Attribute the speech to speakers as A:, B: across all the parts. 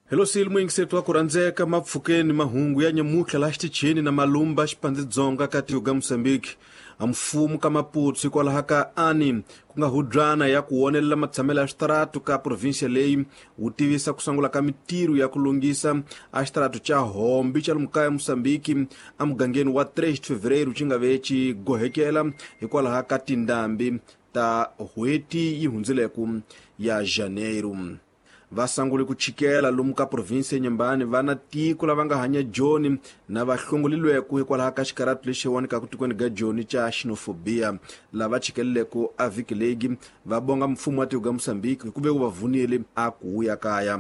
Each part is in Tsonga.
A: Hello muyingiseti wa ku rhandzeka mapfukeni mahungu ya nyamutlha laha xitichini na Malumba Xipandzidzonga ka tiko ga Mozambique. A mfumo ka Maputo hikwalaho ka ani ku nga hubyana ya ku wonelela matshamelo ya switaratu ka provinsia leyi wu tivisa ku sungula ka mitirho ya ku lunghisa a xitaratu xa Hombi xa lomu kaya Mozambique emugangeni wa 3 de Fevereiro xi nga ve xi gohekela hikwalaho ka tindhambi ta n'hweti yi hundzileku ya Janeiro. Va sungule ku chikela lomu ka provinsi ya Nyembani va na tiko lava nga hanya Joni na va hlongolilweku hikwalaho ka xikaratu lexi wanikaka tikweni ga Joni xa xenofobia. Lava chikeleleku a vhiki leyi va bonga mfumo wa tiko ga Mozambique hi ku ve wu va vunile a ku wuya kaya.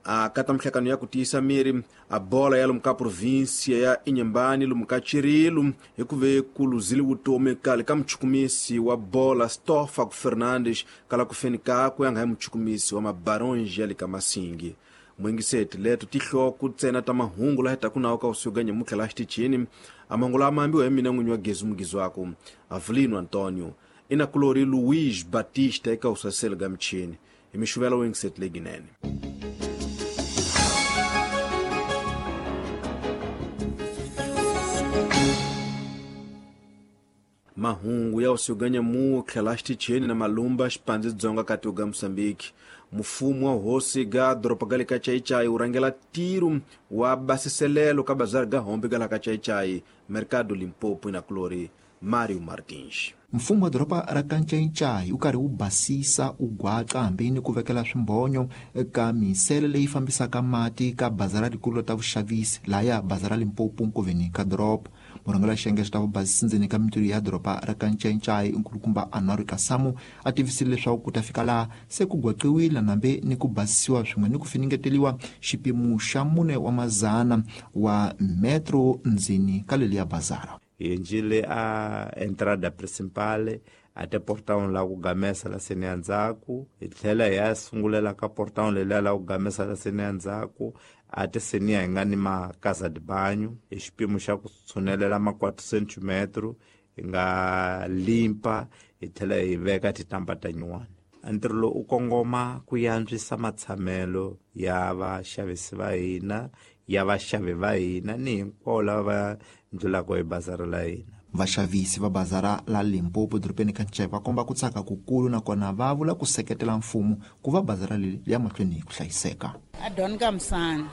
A: A kata mihlakano ya ku tiyisa miri a bola ya lomu ka provinsia ya Inhambane lomu ka Chirilo hi ku ve ku luzile vutomi kale ka muchukumisi wa bola Stofago Fernandes kala ku feni kakwe a nga hi muchukumisi wa mabaronji ya le ka Masingi. Muyingiseti leto tihloko ntsena ta mahungu laha taku nawo ka usiku ga nyamutlha laha xitichini. A mahungu lama ambiwa hi mina n'winyi wa Gezu Mugizwaku Avelino Antonio inakulori Luiz Batista eka usaselo ga michini hi mixuvela wo yingiseti leyinene. Mahungu ya usiku ga nyamutlha laha xitichini na Malumba Xipandzidzonga ka tiko ga Mozambique. Mfumo wa hosi ga doroba ga le ka Chaichai wu rhangela ntirho wa basiselelo ka bazari ga Hombi ga laha ka Chaichai Mercado Limpopo inakulori Mario Martins.
B: Mfumo wa doroba ra ka Ncaincai wu karhi wu basisa wu gwaca hambi ni ku vekela swimbhonyo eka misele leyi fambisaka mati ka bazara rikulu ta vuxavisi lahaya bazara Limpopo nkoveni ka doroba. Murhangeri wa xiyenge xa ta vubasisi ndzeni ka mintirho ya doroba ra ka Ncaincai nkulukumba Anwar Kasamu a tivisile leswaku ku ta fika laha se ku gwaqiwile nambe ni ku basisiwa swin'we ni ku finingeteliwa xipimo xa 4 wa mazana wa metro ndzeni ka leliya bazara.
C: Hi endlile a entrada principal a te portão la ku gamesa la seni ya ndzhaku, hi tlhela hi ya sungulela ka portão leliya la ku gamesa la seni ya ndzhaku a te seniya hi nga ni ma casa de banho hi xipimo xa ku tshunelela ma 4 cm hi nga limpa hi tlhela hi veka titamba ta nyuwani. Ntirho lowu u kongoma ku yantswisa matshamelo ya vaxavisi va hina, ya vaxavi va hina ni hinkwavo lava va ndlulaka hi bazara la hina.
B: Vaxavisi va bazara la Limpopo dorobeni ka Nceka va komba ku tsaka kukulu nakona va vula ku seketela mfumo ku va bazara leri ya mahlweni hi ku hlayiseka.
D: A Don Kamsani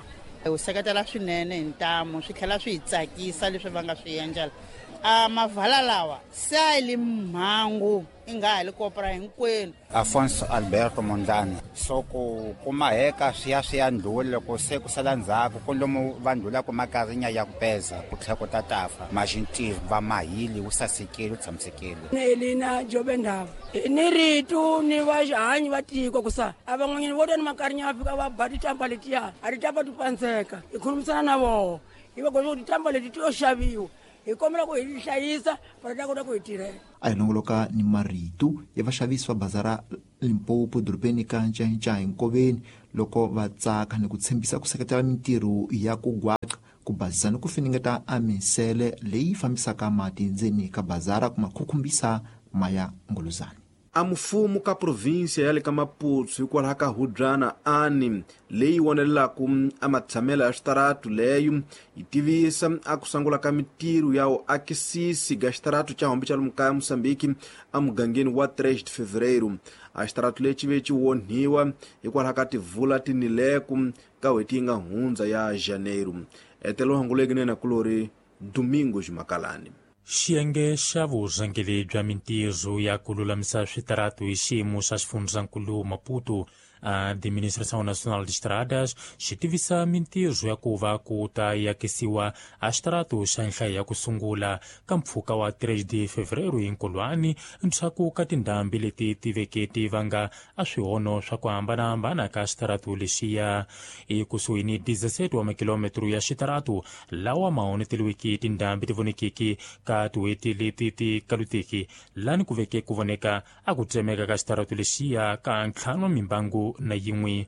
D: wu seketela swinene hi ntamu, swi tlhela swi hi tsakisa leswi va nga swi endlela. A mavala lawa se a yi li mhangu i nga ha li kopra hinkwenu.
E: Afonso Alberto Mondlane so ku kumaheka swi ya swi ya ndlhula loko se ku sala ndzhaku ku lomu va ndlhulaka makarinya ya ku peza ku tlhela ku ta tafa maxintirho va mahili wu sasekile wu tshamisekile.
F: Elina Jobe Ndava ni rito ni vahanyi va tiko ku sa a van'wanyana vo ta ni makarinya va fika va ba titampa letiya a titampa ti pandzeka hi khulumisana na voho hi va koxa ku titampa leti ti yo xaviwa hi kombela ku hi hlayisa va ta kota ku hi tirhela.
B: A hi longoloka ni marito ya vaxavisi va bazara Limpopo dorobeni ka Ncaincai nkoveni loko va tsaka ni ku tshembisa ku seketela mintirho ya ku gwaca ku basisa ni ku finingeta a misele leyi fambisaka mati ndzeni ka bazara ku makhukhumbisa maya nguluzani.
A: A mfumo ka provinsia ya le ka Maputo hikwalaho ka hubyana ani leyi wonelelaka a matshamelo ya switaratu leyo yi tivisa a ku sungula ka mitirho ya vuakisisi ga xitaratu xa Hombi xa lomu kaya Mozambique emugangeni wa 3 de Fevereiro. A xitaratu lexi ve xi onhiwa hikwalaho ka tivula tinileku ka n'hweti yi nga hundza ya Janeiro. Etelo hanguleki nena kulori Domingos Makalani.
G: Xiyenge xa vurhangeri bya mintirho ya ku lulamisa switaratu hi xiyimo xa xifundzankulu Maputo Administração Nacional de Estradas xi tivisa mintirho ya ku va ku ta yakisiwa a xitaratu xa nhlayo ya ku sungula ka mpfhuka wa 3 de Fevereiro hi Nkulwani ndzhaku ka tindhambi leti ti veke ti vanga a swihono swa ku hambanahambana ka xitaratu lexiya. Ekusuhi ni 17 wa makilometro ya xitaratu lawa ma onheteliweke tindhambi ti vonekeke ka tin'hweti leti ti kaluteki lani ku veke ku voneka a ku tsemeka ka xitaratu lexiya ka ntlhanu mimbangu. 81.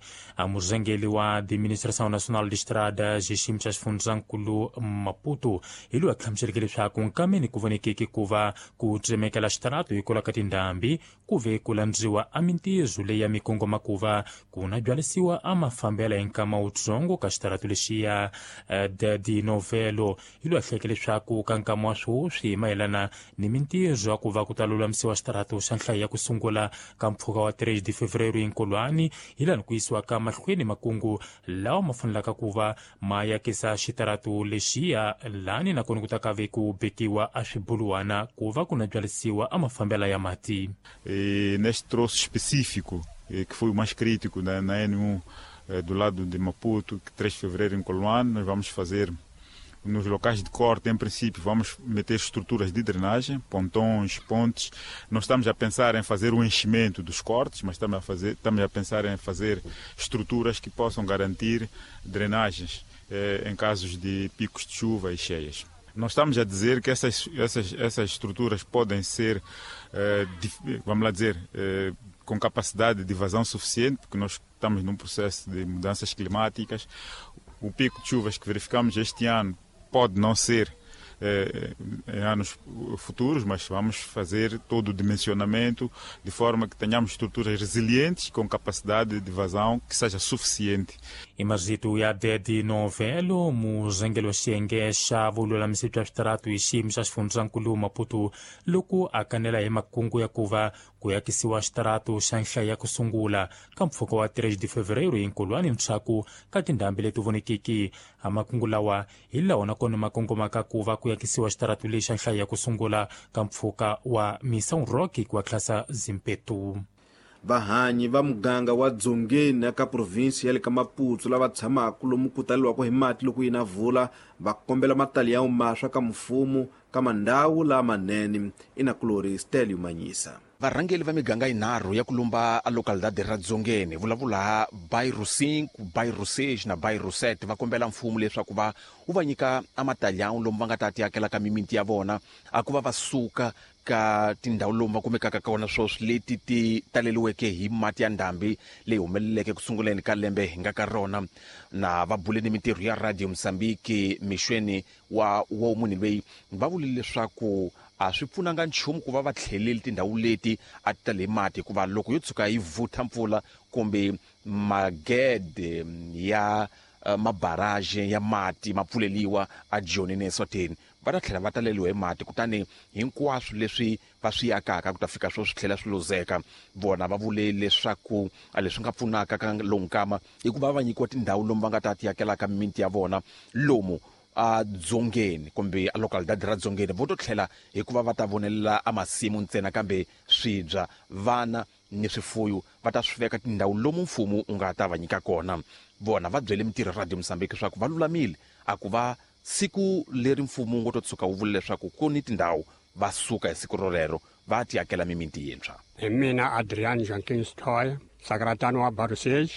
G: Murhangeri wa Administração Nacional de Estradas hi xiyimo xa xifundzankulu Maputo hi loyi a hlamuseleke leswaku nkameni ku vonekeke ku va ku tsemekela xitaratu hikwalaho ka tindhambi ku ve ku landziwa a mintirho leyi ya mikongoma ku va ku na byalisiwa a mafambela hi nkama wutsongo ka xitaratu lexiya Dadi Novelo hi loyi a hleke leswaku ka nkama wa sweswi mayelana ni mintirho ya ku va ku ta lulamisiwa xitaratu xa nhlayo ya ku sungula ka mpfhuka wa 3 de fevereiro hinkolwani hi laha ku yisiwa ka mahlweni makungu lawa ma fanelaka ku va ma yakisa xitaratu lexiya lani nakona ku ta ka ve ku bekiwa a swibuluwana ku va ku na byalisiwa a mafambela ya mati.
H: E neste troço específico, que foi o mais crítico na N1 do lado de Maputo, que 3 de fevereiro em Coloane, nós vamos fazer nos locais de corte, em princípio, vamos meter estruturas de drenagem, pontões, pontes. Não estamos a pensar em fazer o enchimento dos cortes, mas estamos a pensar em fazer estruturas que possam garantir drenagens em casos de picos de chuva e cheias. Não estamos a dizer que essas estruturas podem ser, vamos lá dizer, com capacidade de vazão suficiente, porque nós estamos num processo de mudanças climáticas. O pico de chuvas que verificamos este ano pode não ser em anos futuros, mas vamos fazer todo o dimensionamento de forma que tenhamos estruturas resilientes com capacidade de vazão que seja suficiente.
G: Imazito ya Dedi Novelo murhangeri wa xiyenge xa vululamisi bya switaratu hi xiyimo xa xifundzankulu Maputo loko a kanela hi makungu ya ku va ku yakisiwa xitaratu xa nhlayo ya ku sungula ka mpfhuka wa 3 de fevereiro hi nkulwani ntshaku ka tindhambi leti vonekiki. A makungu lawa hi lawa nakona ma kongomaka ku va ku yakisiwa xitaratu lexi xa nhlayo ya ku sungula ka mpfhuka wa Missão Roque ku tlhasa Zimpetu.
A: Vahanyi va muganga wa Dzongeni eka provinsi ya le ka Maputo lava tshamaka lomu ku taleriwaka hi mati loko yi na vula va kombela matali ya maswa ka mfumo ka mandhawu lamanene. Inakulori Stelio Manyisa.
I: Varhangeri va miganga yinharhu ya ku lumba a localidade ra Dzongeni vulavula bairro 5, bairro 6 na bairro 7 va kombela mfumo leswaku va wu va nyika amatalhão lomu va nga ta ti ka mimiti ya vona a ku va va suka ka tindhawu lomu va kumekaka kona sweswi leti ti taleriweke hi mati ya ndhambi leyi humeleleke ku sunguleni ka lembe hi nga ka rona. Na va bule ni mintirho ya Radio Mozambique mixweni wa munhu loyi va vule leswaku a swi pfunanga nchumu ku va va tlheleli tindhawu leti a ti tale mati hikuva loko yo tshuka yi vutha mpfula kumbe magede ya mabaraje ya mati ma pfuleliwa a Joni ne Eswatini va ta tlhela va taleliwa hi mati kutani hinkwaswo leswi va swi akaka ku ta fika swo swi tlhela swi luzeka. Vona va vule leswaku a leswi nga pfunaka ka lowu nkama i ku va va nyikiwa tindhawu lomu va nga ta ti akelaka mimiti ya vona lomu a Dzongeni kumbe a localidade ra Dzongeni vo to tlhela hikuva va ta vonelela a masimu ntsena kambe swibya vana ni swifuyo va ta swi veka tindhawu lomu mfumo wu nga ta va nyika kona. Vona va byele mintirho Radio Mozambique leswaku va lulamile a ku va siku leri mfumo wu ngo to tshuka wu vula leswaku ku ni tindhawu va suka hi siku rolero va ti akela mimiti yintshwa.
J: Hi mina Adrian Jenkins Toy, sekretari wa Bairro 6.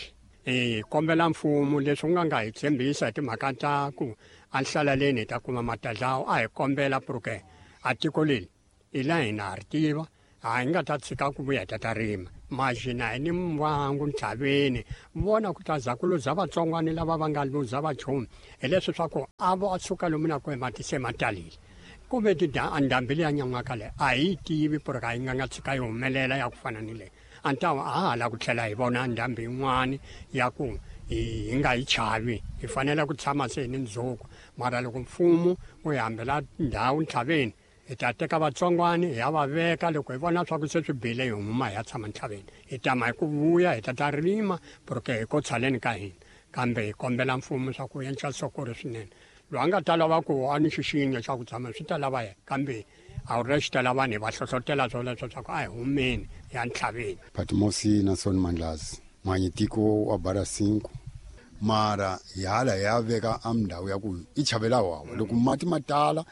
J: Hi kombela mfumo leswi wu nga hi tshembisa hi timhaka ta ku a nhlaleleni hi ta kuma matadlawu a hi kombela porque a tiko leri hi la hina ha ri tiva a hi nga ta tshika ku vuya hi ta ta rima maxina hi ni mvangu ntlhaveni vona ku ta za ku luza vatsongwani lava va nga luza vachumu hi leswi swa ku a va suka lomu na ku mati se ma talile ku ve ndhambi leya nyan'waka leyi a hi yi tivi porque a yi nga nga tshika yi humelela ya ku fana ni leyi a ni ta a ha la ku tlhela hi vona ndhambi yin'wani ya ku hi nga yi chavi hi fanele ku tshama se hi ni ndzhuku mara loko mfumo wu hi hambela ndhawu ntlhaveni hi ta teka vatsongwani hi ya va veka loko hi vona swa ku se swi bile hi huma hi ya tshama ntlhaveni hi tama hi ku vuya hi ta ta rima porque hi ko tshaleni ka hina kambe hi kombela mfumo swa ku endla sokori swinene loyi a nga ta lava ku a ni xixinyo xa ku tshama swi ta lava yena kambe a wu ri xi ta lava vanhu hi va hlohlotela swoleswo swa ku a hi humeni ya ntlhaveni.
K: Patmosi Nason Mandlazi mhanyitiko wa Bara 5 mara hi hala hi ya veka a mindhawu ya ku i chavela wawa loko mati ma tala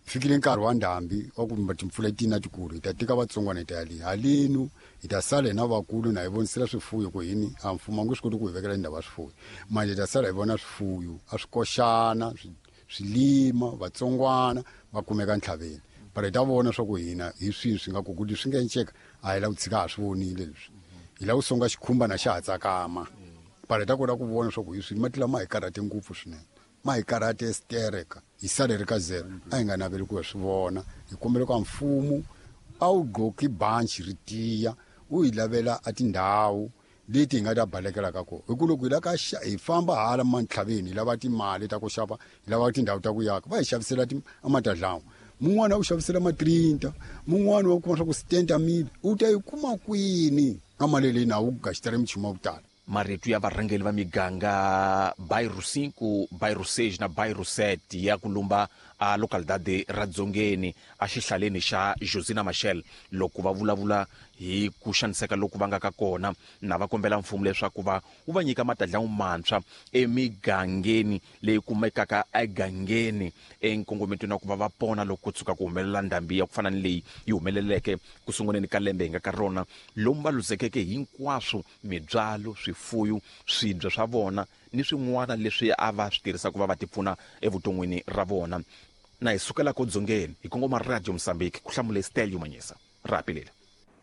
K: fikile nkarhi wa ndhambi wa ku timpfula ti na tikulu hi ta teka vatsongwana hi ta ya le halenu hi ta sala hina vakulu na hi vonisela swifuyo ku hini a mfumo a nge swi koti ku hi vekela ndhawu ya swifuyo manje hi ta sala hi vona swifuyo a swi koxana swilima vatsongwana va kumeka ntlhaveni but hi ta vona swa ku hina hi swihi swi nga ku ku leswi nga enceka a hi la ku tshika ha swi vonile leswi. Hi lava ku songa xikhumba na xa ha tsakama. Para hi ta kota ku vona swa ku hi swi mati lama hi karhate ngopfu swinene. Ma hi karhate stereka. Hi sale ri ka zero. A hi nga naveli ku hi swi vona. Hi kombela ka mfumo a wu gqoki banci ri tiya, wu hi lavela a tindhawu leti hi nga ta balekela ka kona. Hi ku loko hi la ka hi famba hala mantlhaveni hi lava timali ta ku xava, hi lava tindhawu ta ku yaka, va hi xavisela a matadlawa. Mun'wana a ku xavisela ma-30, mun'wana wa kuma swa ku 70 mil, u ta yi kuma kwini? Ka mali leyi na wu gaxitela michumu ya ku tala.
I: Marito ya varhangeli va miganga Bairro 5, Bairro 6 na Bairro 7 ya ku lumba a localidade ra Dzongeni a xihlaleni xa Josina Machel loko va vulavula hi ku xaniseka loku va nga ka kona na va kombela mfumo leswaku va wu va nyika matadlawu mantshwa emigangeni leyi kumekaka egangeni enkongometweni wa ku va va pona loko ku tshuka ku humelela ndhambi ya ku fana ni leyi yi humeleleke ku sunguleni ka lembe hi nga ka rona, lomu va luzekeke hinkwaswo mibyalo, swifuyo, swibya swa vona ni swin'wana leswi a va swi tirhisa ku va va tipfuna evuton'wini ra vona. Na hi sukela ko dzongeni hi kongoma Radio Mozambique, ku hlamule Stelio Manyisa. Rapi lela.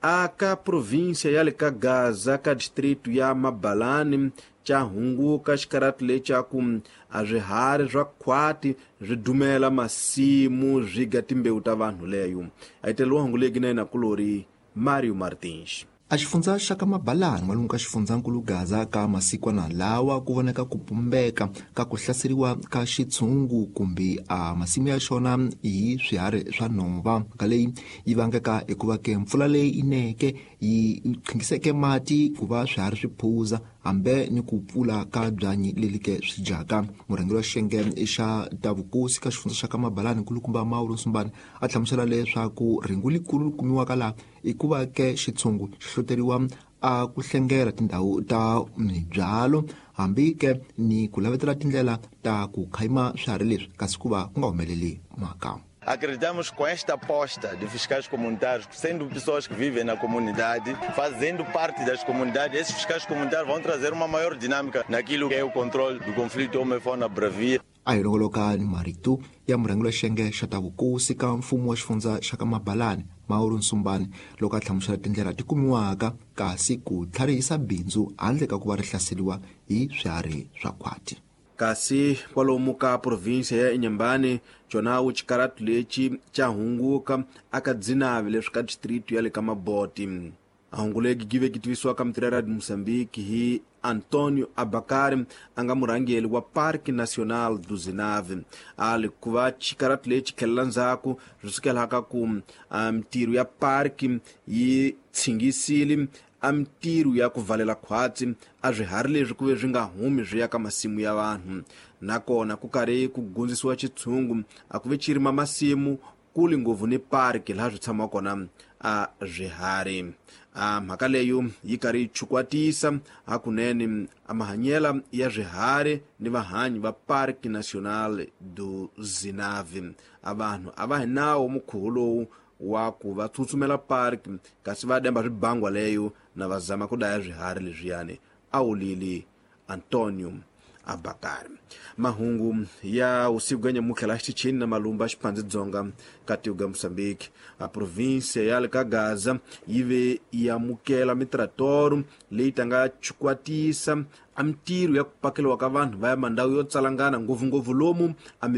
A: Aka província ya le ka Gaza ka distrito ya Mabalani ca hunguka xikarati lecaku a swiharhi swa khwati swi dumela masimu swi ga timbewu ta vanhu leyo. A yi teleriwa hungu leyi na yena kulori Mario Martins.
B: A xifundza xa ka Mabalani n'walungu ka xifundzankulu Gaza ka masikwana lawa ku voneka ku pumbeka ka ku hlaseriwa ka xitshungu kumbe a masimu ya xona hi swiharhi swa nhova. Mhaka leyi yi vangeka hikuva ke mpfula leyi ineke yi qhingiseke mati ku va swiharhi swi phuza hambe ni ku pfula ka byanyi leli ke swi dyaka. Murhangeri wa xiyenge xa ta vukosi ka xifundza xa ka Mabalani nkulukumba Mauro Nsumbane a hlamusela leswaku rhengu likulu li kumiwaka laha i ku va ke xitshungu xi hloteriwa a ku hlengela tindhawu ta mibyalo hambi ke ni ku lavetela tindlela ta ku khayima swiharhi leswi kasi ku va ku nga humeleli mhaka.
L: Acreditamos que com esta aposta de fiscais comunitários, sendo pessoas que vivem na comunidade, fazendo parte das comunidades, esses fiscais comunitários vão trazer uma maior dinâmica naquilo que é o controle do conflito homem-fauna bravia.
B: A hi longoloka ni marito ya murhangeri wa xiyenge xa ta vukosi ka mfumo wa xifundza xa ka Mabalani Mauro Nsumbane loko a hlamusela tindlela ti kumiwaka kasi ku tlharihisa bindzu handle ka ku va ri hlaseriwa hi swiharhi swa khwati.
A: Kasi kwalomu ka província ya Inhambane cona wu xikaratu lexi xa hunguka aka Dzinavi leswi ka distrito ya le ka Maboti. A hungu legi give ki tivisiwa ka mitirhi ya Radio Mozambique hi Antonio Abakari a nga murhangeri wa Parque Nacional do Zinave. A li ku va xikaratu lexi tlhelela ndzhaku swi sukelaka ku mitirho ya parki yi tshingisile a mitirho ya ku valela khwatsi a swiharhi leswi ku ve swi nga humi swi ya ka masimu ya vanhu. Nakona ku karhi ku gundzisiwa xitshungu a ku ve xi rima masimu kuli ngopfu ni parki laha swi tshamaka kona a swiharhi. A mhaka leyo yi karhi yi chukwatisa hakunene a mahanyela ya swiharhi ni vahanyi va Parque Nacional do Zinave. A vanhu a va hi nawo mukhuva lowu wa ku va tsutsumela park kasi va demba swibangwa leyo na va zama ku daya swiharhi leswiyani, a wulile Antonio Abakari. Mahungu ya usiku ganya mukhela xichini na malumba xiphandzi dzonga ka tiko ga Mozambique. A província ya le ka Gaza yi ve yi amukela mitratoro leyi tanga chukwatisa a mitirho ya ku pakeliwa ka vanhu va ya mandhawu yo tsalangana ngopfungopfu lomu a